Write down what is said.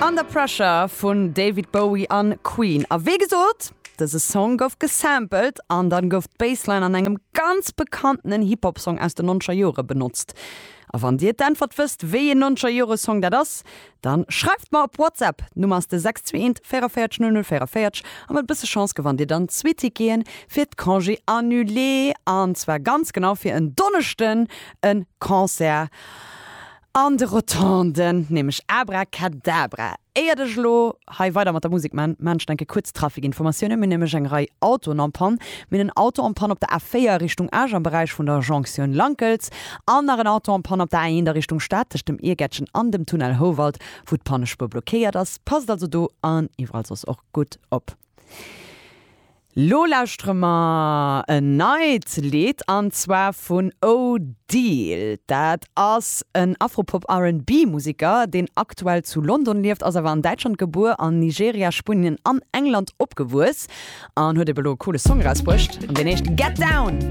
Under Pressure vun David Bowie an Queen. A wéi gesot, dëse Song gouf gesampelt an dann gouf d'Bassline an engem ganz bekanntenen Hip-Hop-Song aus den nonzeger Jore benotzt. A wann dir d'Äntwert wësst, wéi een nonzeger Jore Song dat ass, dann schreift mer op WhatsApp. D'Nummer ass de 621 44 00 44 a mat e bësse Chance gewannt dir dann zwee Ticketen fir d'Congé annulé an zwar ganz genau fir en Donneschden e Concert An de Rotonden, nämlech Abracadabra. Éiert ech elo hei weider mat der Musek man, maan ech nach eng Kéier kuerz Trafikinformatiounen. Mir hunn nämlech eng Rei Autoen en panne. Mir hunn en Auto en panne op der A4 Richtung Esch am Beräich vun der Jonktioun Lankels an nach en Auto en panne op der A1 a Richtung Stad tëscht dem Iergättchen an dem Tunnel Houwald, wou d'Pannespuer blockéiert ass. Passt also do an iwwerall soss och gutt op. Lo lauschtere mer en neit Lidd an zwar vun Odile. Dat ass en Afropop-R&B Museker, deen aktuell zu London lieft, ass awer an Däitschland gebuer, an Nigeria, Spuenien an England opgewuess an huet ebe lo e coole Song erausbruecht an deen heescht Get Down.